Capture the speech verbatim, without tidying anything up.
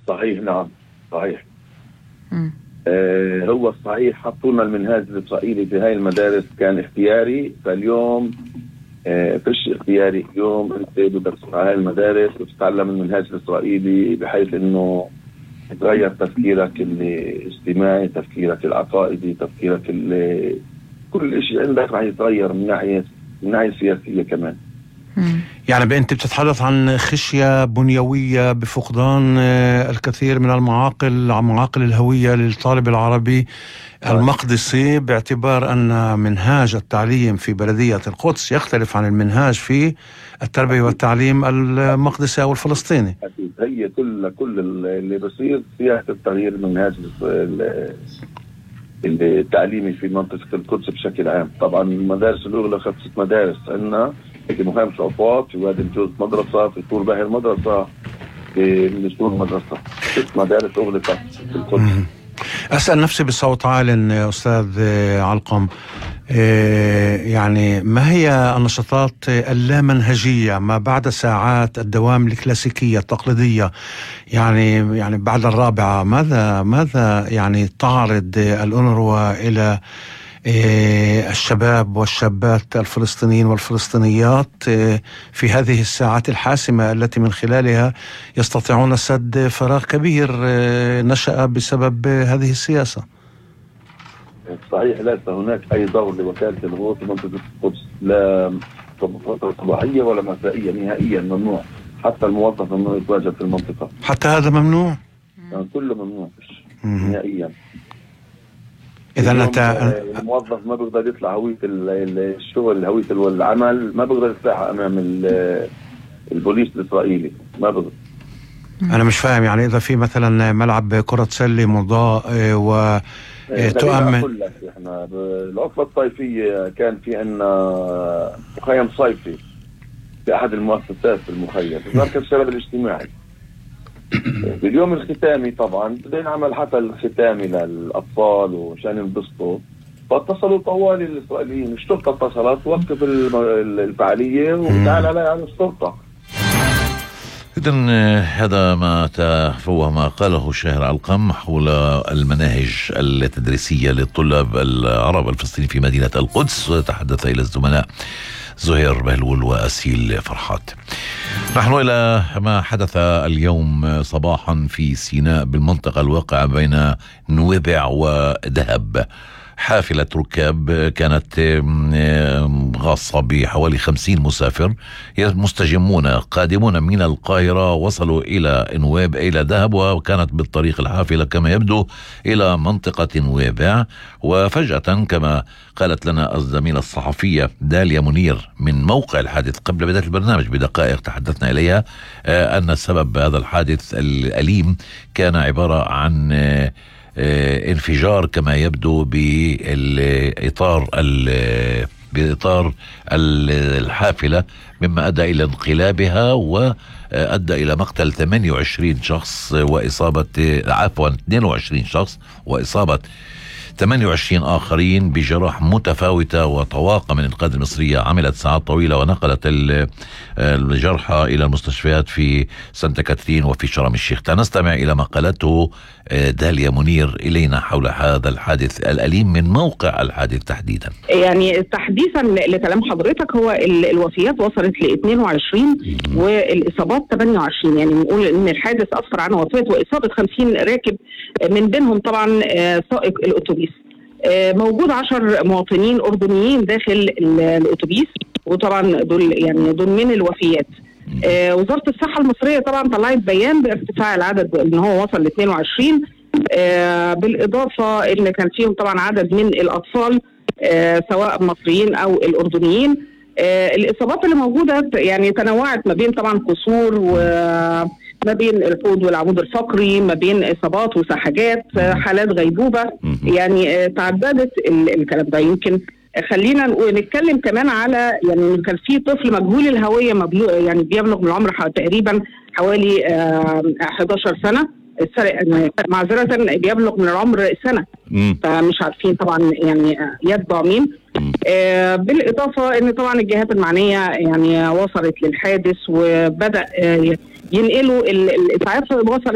صحيح نعم صحيح. آه هو الصحيح حطوا لنا المنهاج الإسرائيلي في هاي المدارس كان اختياري، فاليوم آه فيش اختياري. اليوم انت بدك تروح على هاي المدارس وتتعلم المنهاج الإسرائيلي بحيث انه يتغير تفكيرك الاجتماعي، تفكيرك العقائدي، تفكيرك كل شيء عندك راح يتغير من ناحية من ناحية سياسية كمان. يعني أنت بتتحدث عن خشية بنيوية بفقدان الكثير من المعاقل معاقل الهوية للطالب العربي المقدسي، باعتبار أن منهاج التعليم في بلدية القدس يختلف عن المنهاج في التربية والتعليم المقدسي أو الفلسطيني. هي كل كل اللي بصير سياسة التغيير المنهاج التعليمي في منطقة القدس بشكل عام. طبعا المدارس الأغلى خمسة مدارس عندنا في مخيم عفاط، في وادي الجوز مدرسة، في طور باهر مدرسة، في منسور مدرسة، ست مدارس أغلقت في القدس. أسأل نفسي بصوت عال أستاذ علقم، يعني ما هي النشاطات اللامنهجية ما بعد ساعات الدوام الكلاسيكية التقليدية؟ يعني يعني بعد الرابعة ماذا ماذا يعني تعرض الأونروا إلى الشباب والشابات الفلسطينيين والفلسطينيات في هذه الساعات الحاسمة التي من خلالها يستطيعون سد فراغ كبير نشأ بسبب هذه السياسة؟ صحيح، ليس هناك أي دور لوكالة الغوث في منطقة القدس، لا صباحية ولا مسائية، نهائيا ممنوع. حتى الموظف ممنوع يتواجد في المنطقة. حتى هذا ممنوع؟ يعني كله ممنوع نهائيا. إذا أنت الموظف ما بيقدر يطلع هوية الشغل، هوية العمل ما بيقدر يطلعها أمام البوليس الإسرائيلي، ما بيقدر. أنا مش فاهم، يعني إذا في مثلا ملعب كرة سلة مضاء و تؤمن أقول لك إحنا بالعطلة الصيفية كان في عنا مخيم صيفي في أحد المؤسسات في المخيم في مركز الشباب الاجتماعي. باليوم الختامي طبعا بدنا نعمل حفل ختامي للأطفال وعشان ينبسطوا، فاتصلوا طوالي الإسرائيليين، الشرطة اتصلت وقف الفعالية وتعال عليها على الشرطة. إذن هذا ما تفوه ما قاله الشاهر علقم حول المناهج التدريسية للطلاب العرب الفلسطينيين في مدينة القدس، تحدث إلى الزملاء زهير بهلول وأسيل فرحات. نحن إلى ما حدث اليوم صباحا في سيناء بالمنطقة الواقعة بين نويبع ودهب. حافلة ركاب كانت غاصة بحوالي خمسين مسافر مستجمون قادمون من القاهرة، وصلوا إلى نويبع إلى دهب، وكانت بالطريق الحافلة كما يبدو إلى منطقة نويبع. وفجأة كما قالت لنا الزميلة الصحفية داليا منير من موقع الحادث قبل بداية البرنامج بدقائق تحدثنا إليها أن سبب هذا الحادث الأليم كان عبارة عن انفجار كما يبدو بإطار بإطار الحافلة، مما أدى إلى انقلابها وأدى إلى مقتل ثمانية وعشرين شخص وإصابة عفوا اثنين وعشرين شخص وإصابة ثمانية وعشرين آخرين بجراح متفاوتة. وطواقم الإنقاذ المصرية عملت ساعات طويلة ونقلت الجرحى إلى المستشفيات في سانتا كاترين وفي شرم الشيخ. نستمع إلى ما قالته داليا منير إلينا حول هذا الحادث الأليم من موقع الحادث تحديدا. يعني تحديثا لكلام حضرتك، هو الوفيات وصلت ل اثنين وعشرين والإصابات ثمانية وعشرين، يعني نقول إن الحادث أسفر عن وفاة وإصابة خمسين راكب، من بينهم طبعا سائق الأتوبيس. موجود عشر مواطنين أردنيين داخل الأتوبيس، وطبعا دول يعني دول من الوفيات. آه وزارة الصحة المصرية طبعا طلعت بيان بارتفاع العدد ان هو وصل ل اثنين وعشرين، آه بالإضافة ان كان فيهم طبعا عدد من الأطفال آه سواء مصريين أو الأردنيين. آه الإصابات اللي موجودة يعني تنوعت ما بين طبعا كسور وما بين الحوض والعمود الفقري، ما بين إصابات وسحجات، آه حالات غيبوبة، يعني آه تعددت الكلام ده. يمكن خلينا نتكلم كمان على يعني كان في طفل مجهول الهوية مبلوغ يعني بيبلغ من العمر تقريبا حوالي آه إحدى عشرة سنة، معذرة بيبلغ من العمر سنة، فمش عارفين طبعا يعني يتبع مين. آه بالإضافة ان طبعا الجهات المعنية يعني وصلت للحادث وبدأ آه ينقلوا الإسعاف، وصلت